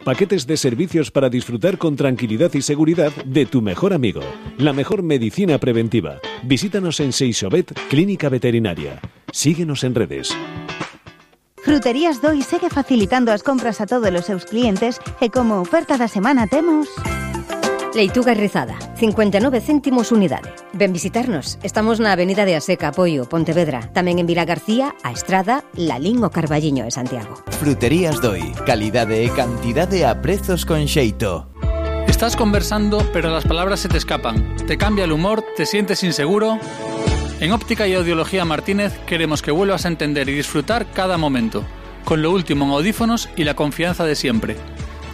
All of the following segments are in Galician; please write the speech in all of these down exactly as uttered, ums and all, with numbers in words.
paquetes de servicios para disfrutar con tranquilidad y seguridad de tu mejor amigo. La mejor medicina preventiva. Visítanos en Seixobet, Clínica Veterinaria. Síguenos en redes. Fruterías Doi segue facilitando as compras a todos os seus clientes e como oferta da semana temos... Leituga rizada, cincuenta e nove céntimos unidade. Ven visitarnos. Estamos na Avenida de Aseca, Apoio, Pontevedra. Tamén en Vila García, A Estrada, Lalín o Carballiño e Santiago. Fruterías Doi. Calidade e cantidade a prezos con xeito. Estás conversando, pero las palabras se te escapan. Te cambia el humor, te sientes inseguro. En Óptica y Audiología Martínez queremos que vuelvas a entender y disfrutar cada momento, con lo último en audífonos y la confianza de siempre.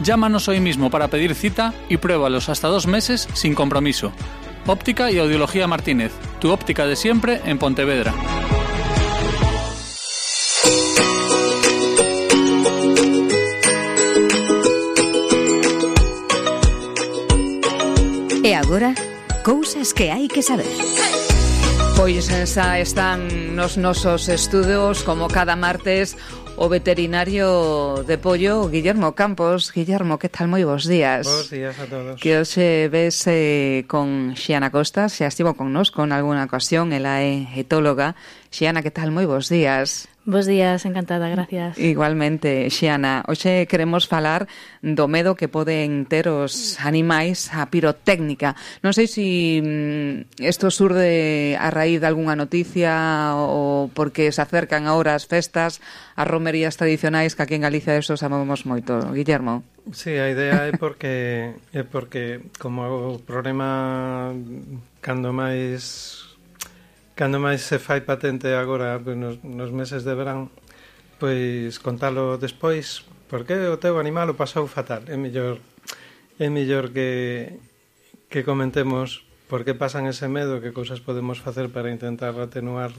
Llámanos hoy mismo para pedir cita y pruébalos hasta dos meses sin compromiso. Óptica y Audiología Martínez, tu óptica de siempre en Pontevedra. E agora, cousas que hai que saber. Pois xa están nos nosos estudos, como cada martes, o veterinario de pollo, Guillermo Campos. Guillermo, que tal? Moi bons días. Bos días a todos. Que hoxe ves eh, con Xiana Costa, xa estivo connosco en alguna ocasión, ela é etóloga. Xiana, que tal? Moi bons días. Bos días, encantada, gracias. Igualmente, Xiana, hoxe queremos falar do medo que poden ter os animais á pirotécnica. Non sei se isto surde a raíz de algunha noticia ou porque se acercan agora as festas, as romerías tradicionais, que aquí en Galicia eso sabemos moito. Guillermo. Sí, a idea é porque é porque como o problema cando máis cando máis se fai patente agora nos, nos meses de verán, pois contalo despois, porque o teu animal o pasou fatal. É mellor é mellor que que comentemos por que pasan ese medo, que cousas podemos facer para intentar atenuar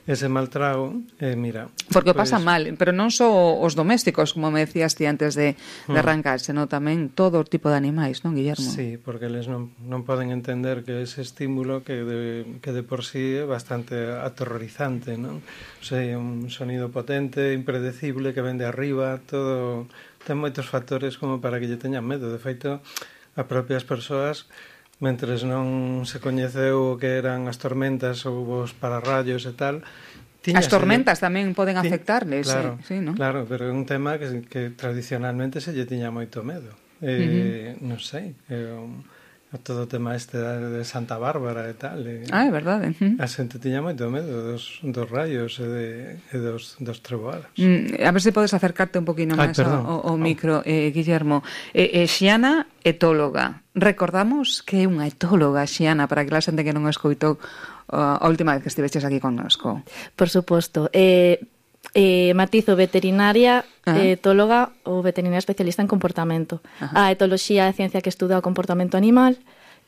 ese mal trago, eh, mira... Porque o pues, pasan mal, pero non só os domésticos, como me decías ti antes de, de arrancar, senón tamén todo o tipo de animais, non, Guillermo? Sí, porque eles non, non poden entender que ese estímulo que de, que de por sí é bastante aterrorizante, non? O sea, un sonido potente, impredecible, que ven de arriba, todo... Ten moitos factores como para que lle teñan medo. De feito, as propias persoas... mentres non se coñeceu o que eran as tormentas ou os pararrayos e tal... As tormentas tamén poden afectarles, claro, sí, ¿no? Claro, pero é un tema que, que tradicionalmente se lle tiña moito medo. Eh, uh-huh. Non sei, é un, todo o tema este de Santa Bárbara e tal. E, ah, é verdade. Uh-huh. A xente tiña moito medo dos, dos rayos e, de, e dos, dos treboadas. Mm, a ver se podes acercarte un poquinho máis ao, ao micro, eh, Guillermo. Eh, eh, Xiana, etóloga. Recordamos que é unha etóloga, Xiana, para que la xente que non escoitou uh, a última vez que estivestes aquí connosco. Por suposto. Eh, eh, matizo veterinaria, uh-huh. etóloga ou veterinaria especialista en comportamento. Uh-huh. A etoloxía é a ciencia que estuda o comportamento animal.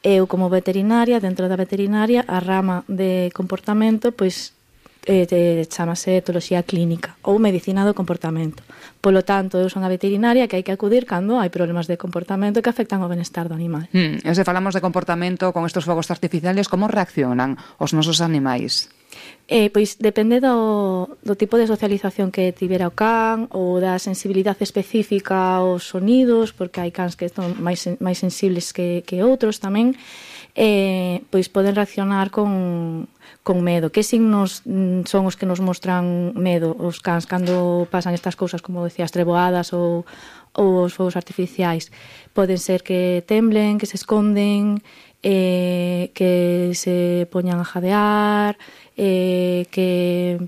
Eu, como veterinaria, dentro da veterinaria, a rama de comportamento, pois, eh, chamase etoloxía clínica ou medicina do comportamento. Polo tanto, eu son a veterinaria que hai que acudir cando hai problemas de comportamento que afectan ao benestar do animal. Hmm, e se falamos de comportamento con estes fogos artificiales, como reaccionan os nosos animais? Eh, pois depende do, do tipo de socialización que tivera o can ou da sensibilidade específica aos sonidos, porque hai cans que son máis, máis sensibles que, que outros tamén. Eh, pois poden reaccionar con, con medo. Que signos son os que nos mostran medo os cans cando pasan estas cousas, como decías, treboadas ou, ou os fogos artificiais? Poden ser que temblen, que se esconden, eh, que se poñan a jadear, eh, que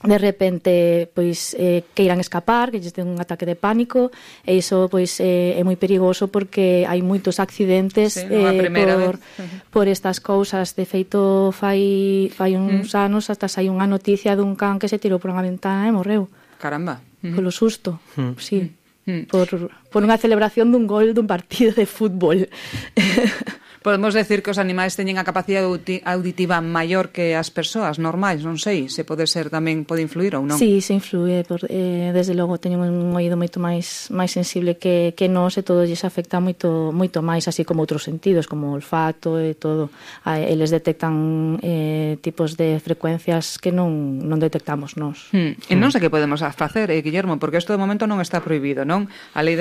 de repente pois eh, queiran escapar, que lles den un ataque de pánico, e iso pois eh, é moi perigoso porque hai moitos accidentes sí, no, eh, por, uh-huh. por estas cousas. De feito, fai fai uns uh-huh. anos hasta sai unha noticia dun can que se tirou por unha ventana e morreu. Caramba. Uh-huh. Polo susto, uh-huh. sí. Uh-huh. Por, por unha celebración dun gol dun partido de fútbol. Podemos decir que os animais teñen a capacidade auditiva maior que as persoas normais, non sei, se pode ser tamén, pode influir ou non? Sí, se influe, por, eh, desde logo teñen un oído moito máis máis sensible que, que nós, e todo lles afecta moito moito máis, así como outros sentidos, como o olfato e todo. Ah, eles detectan eh, tipos de frecuencias que non, non detectamos nós. Hmm. E non sei que podemos facer, eh, Guillermo, porque isto de momento non está prohibido, non? A lei